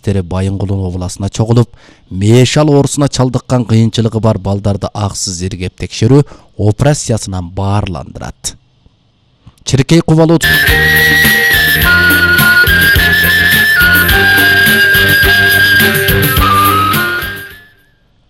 адистери Байынгулун областына чогулуп, мешал оорусуна чалдыккан кыйынчылыгы бар балдарды аксыз иргеп текшерүү операциясынан баарландырат. Чиркей Кубалуу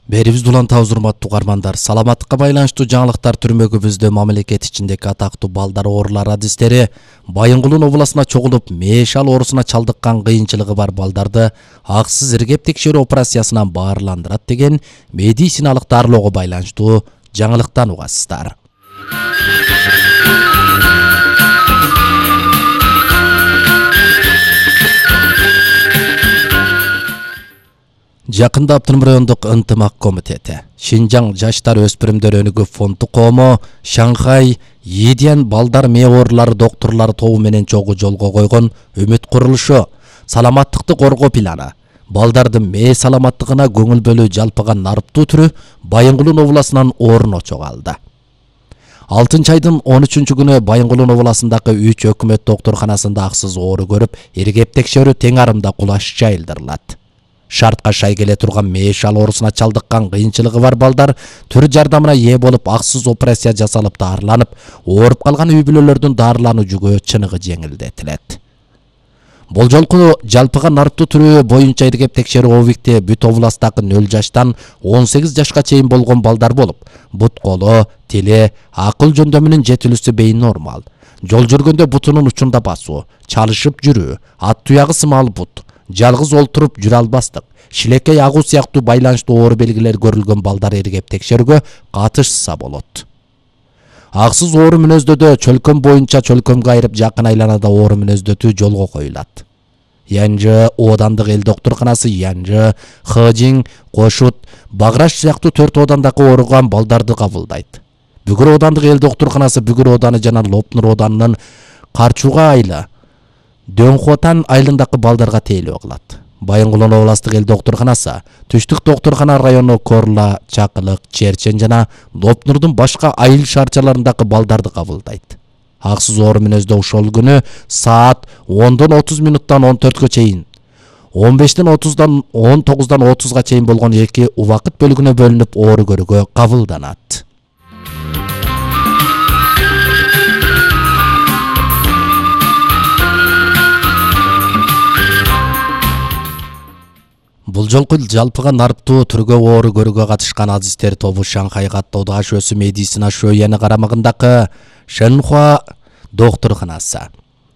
Берибизди улантабыз, урматтуу угармандар. Саламаттыкка байланыштуу жаңылыктар түрмөгүбүздө мамлекет ичиндеги атактуу балдар оорулары адистери Байынгулун областына чогулуп, мешал оорусуна чалдыккан кыйынчылыгы бар балдарды аксыз иргеп текшерүү операциясынан баарландырат деген медициналык дарылоого байланыштуу жаңылыктан угасыздар. Жакында Автоном райондук ынтымак комитети, Шинжаң жаштар өспүрүмдөр өнүгүү фонду коому, Шанхай Йидиан балдар мээ оорулары доктурлары тобу менен чогуу жолго койгон үмүт курулушу, саламаттыкты коргоо планы, балдардын мээ саламаттыгына көңүл бөлүү жалпыга нарыптуу түрү Байынгулун областынан орночо калды. 6 айдын 13 күнү Байынгулун областындагы 3 өкмөт доктурканасында аксыз оору көрүп, иргеп текшерүү тең арымда кулаш жайылдырылат. Шартка шай келе турган мешал оорусуна чалдыккан кыйынчылыгы бар балдар түр жардамына ээ болуп, аксыз операция жасалып дарыланып, ооруп калган үй бүлөлөрдүн дарылануу жүгү чыныгы жеңилдетилет. Бул жолку жалпыга нарыптуу түрү боюнча иргеп текшерүү объекти бүт областтагы 0 жаштан 18 жашка чейин болгон балдар болуп, бут колу, тили, акыл жөндөмүнүн жетилүүсү бейин нормал, жол жүргөндө бутунун учунда басуу, чалышып жүрүү, ат туягы сымал бут, жалгыз олтуруп жүрө албастык, шилекей агуу сыяктуу байланыштуу оору белгилери көрүлгөн балдар иргеп текшерүүгө катышса болот. Аксыз оору мүнөздөдө чөлкөм боюнча чөлкөмгө айырып жакын айланада оору мүнөздөтүү жолго коюлат. Янжы оодандык эл доктурканасы Янжы, Хыжиң, Кошут, Баграш сыяктуу 4 оодандагы ооруган балдарды кабылдайт. Бүгүр оодандык эл доктурканасы Бүгүр ооданы жана Лопнур оодарынын Карчуга айылы, Дөңхотан айылындагы балдарга тейлөө кылат. Байынгулун областык эл доктурканасы, Түштүк доктуркана району Корла, Чакылык, Черчен жана Лопнурдун башка айыл шаарчаларындагы балдарды кабылдайт. Аксыз оору мүнөздө ошол күнү саат 10:30 минуттан 14гө чейин, 15:30-дан 19:30 30га чейин болгон 2 убакыт бөлүгүнө бөлүнүп оору көрүүгө кабылданат. Бул жолку жалпыга нарыптуу түргө оору көрүүгө катышкан адистер тобу Шанхай каттоодо аш өсүү медицина шөйяны карамагындагы Шэнхуа доктурканасы,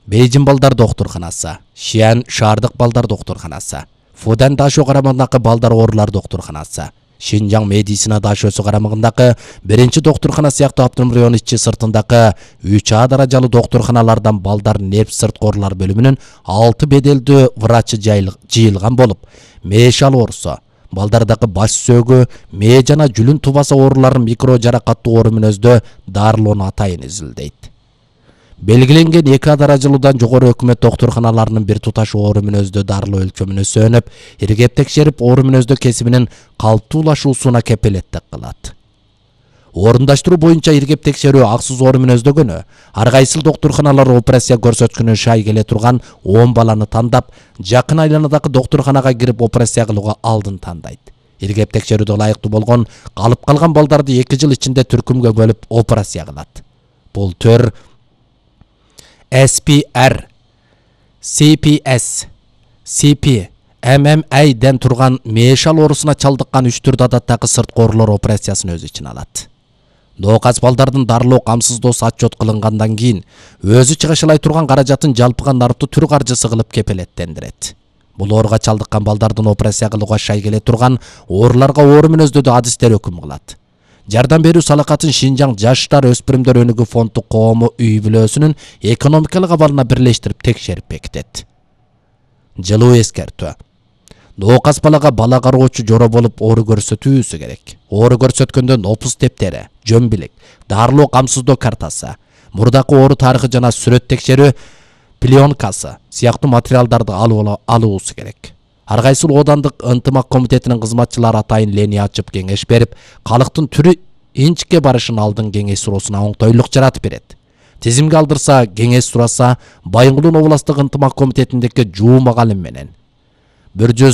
Бейжин балдар доктурканасы, Шиан шаардык балдар доктурканасы, Фудан Дашо карамагындагы балдар оорулар доктурканасы, Шинжаң медицина дашөсү карамагындагы 1 доктуркана сыяктуу Автоном району ичи сыртындагы 3А даражалуу доктурканалардан балдар нерв сырткы оорулар бөлүмүнүн 6 беделдүү врачы жыйылган болуп, мешал оорусу, балдардагы баш сөөгү, мээ жана жүлүн тубасы ооруларын микро жаракаттуу оору мүнөздө дарылоону атайын изилдейт. Белгиленген 2А даражалуудан жогору өкмөт доктурканаларынын бир туташ оору мүнөздө дарылоо өлчөмүнө сөнүп, иргеп текшерип, оору мүнөздө кесибинин калыптуулашуусуна кепилеттик кылат. Орундаштыруу боюнча иргеп текшерүү аксыз оору мүнөздөгөнү, ар кайсыл доктурканалар операция көрсөткүнү шай келе турган 10 баланы тандап, жакын айланадагы доктурканага кирип операция кылууга алдын тандайт. Иргеп текшерүүдө ылайыктуу болгон, калып калган балдарды 2 жыл ичинде түркүмгө бөлүп операция кылат. Бул төр SPR, CPS, CP, MMA'ден турган мешал оорусуна чалдыккан 3 түрдүү адаттагы сырткы оорулар операциясын өз ичине алат. Дооказ балдардын дарылоо камсыздоосу отчет кылынгандан кийин өзү чыгышылай турган каражатын жалпыга нарыптуу түр каржысы кылып кепилеттендирет. Бул ооруга чалдыккан балдардын операция кылууга шай келе турган ооруларга оору мүнөздөдө адистер өкүм кылат. Жардам берүү салакатын Шинжаң жаштар өспүрүмдөр өнүгүү фонду коому үй бүлөсүнүн экономикалык абалына бирлештирип текшерип бекитет. Жылуу эскертүү. Дооказ балага бала кароочу жоро болуп оору көрсөтүүсү керек. Оору көрсөткөндө нопус тептери, жөмбилик, дарылоо камсыздоо картасы, мурдакы оору тарыхы жана сүрөт текшерүү пленкасы сыяктуу материалдарды алуусу керек. Ар кайсыл оодандык ынтымак комитетинин кызматчылары атайын лени ачып кеңеш берип, калктын түрү инчикке барышын алдын кеңеш суроосуна оңтойлук жаратып берет. Тизимге алдырса, кеңеш сураса, Байынгулун областык ынтымак комитетиндеги Жуу Магалим менен 100